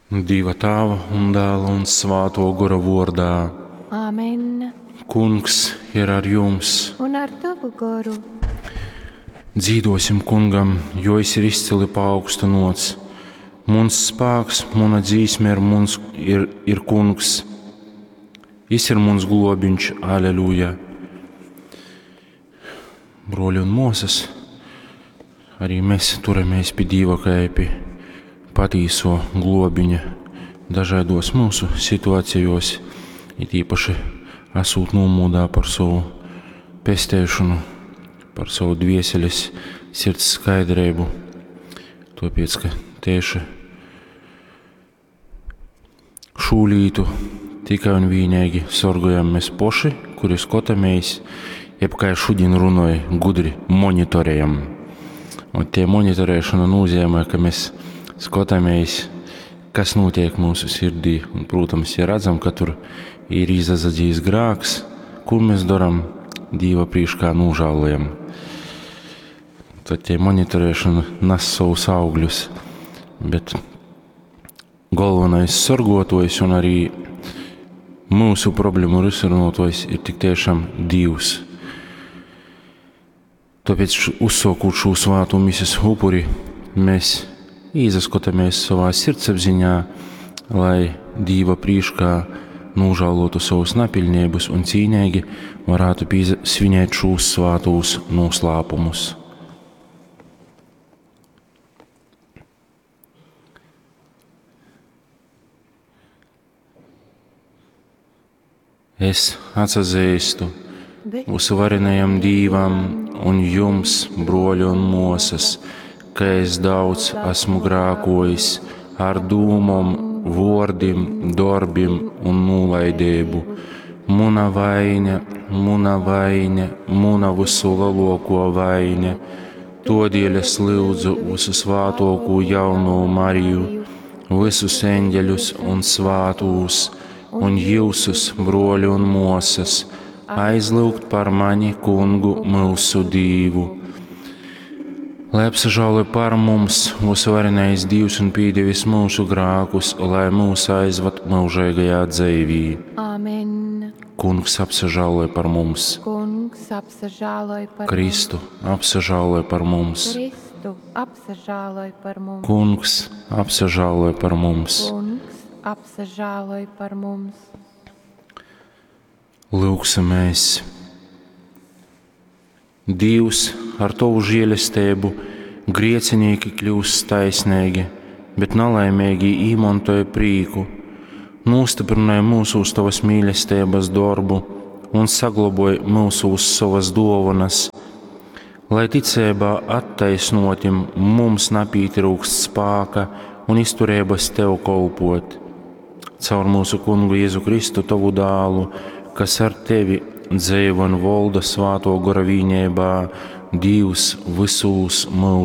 Dieva Tāva un Dēla un Svāto Gora vordā. Āmen. Kungs ir ar jums. Un ar tavu goru. Dzīdosim kungam, jo es ir izcili paaugstinots. Muns spāks, muna dzīsme ir, muns, ir, ir kungs. Jis ir muns globiņš, aleluja. Broļi un mosas, arī mēs turamies pie Dieva kā pie patīso globiņa dažādos mūsu situācijos, it īpaši esot nomodā par savu pestēšanu, par savu dvieseles sirds skaidrību. Tāpēc, ka tieši šū lītu tikai un vienīgi sorgojam mēs poši, kuri skotamies, jeb kā šodien runāju, gudri monitorējam. Un tie monitorēšana nozīmē, ka mēs skatāmies, kas notiek mūsu sirdī. Un, protams, ja redzam, ka tur ir izazadzījis grāks, ko mēs darām, Dieva priekšā nožēlojam. Tad tie monitorēšana nes savus augļus, bet galvenais sargotojs un arī mūsu problēmu risinātājs ir tik tiešām Dievs. Tāpēc uzsākot šo svāto misijas upuri, mēs īzaskatāmies savā sirdsapziņā, lai Dieva priekšā nožēlotu savus napilnības un cīnīgi varētu svinēt šos svātos noslēpumus. Es atsazīstu uzvarenajam Dīvam un jums, broļi un mosas, ka es daudz esmu grākojis ar dūmom, vordim, darbim un nolaidību. Muna vaina, muna vaina, muna visu lielāko vaina. Todēļ es lūdzu visu svātoko jauno Mariju, visus eņģeļus un svātūs, un jūsus, broļi un mosas, aizlūgt par mani kungu mūsu Dīvu. Lai apsažāloj par mums, mūsu varenais Dievs un pīdevis mūsu grākus, lai mūs aizvad mūžīgajā dzīvī. Āmen. Kungs apsažāloj par mums. Kungs apsažāloj par Kristu apsažāloj par mums. Kristu apsažāloj par mums. Kungs apsažāloj par mums. Kungs apsažāloj par mums. Lūksimies! Dievs ar tavu žēlastību griecinīki kļūst taisnīgi, bet nelaimīgi īmontoja prīku. Nostiprināja mūsu uz tavas mīlestības darbu un saglaboja mūsu uz savas dovanas, lai ticībā attaisnotim mums napītrūkst spāka un izturības tev kolpot. Caur mūsu kungu Jēzu Kristu, tavu dālu, kas ar tevi dzīvo un valda svāto gora vīnībā, Dievs visūs mūžos.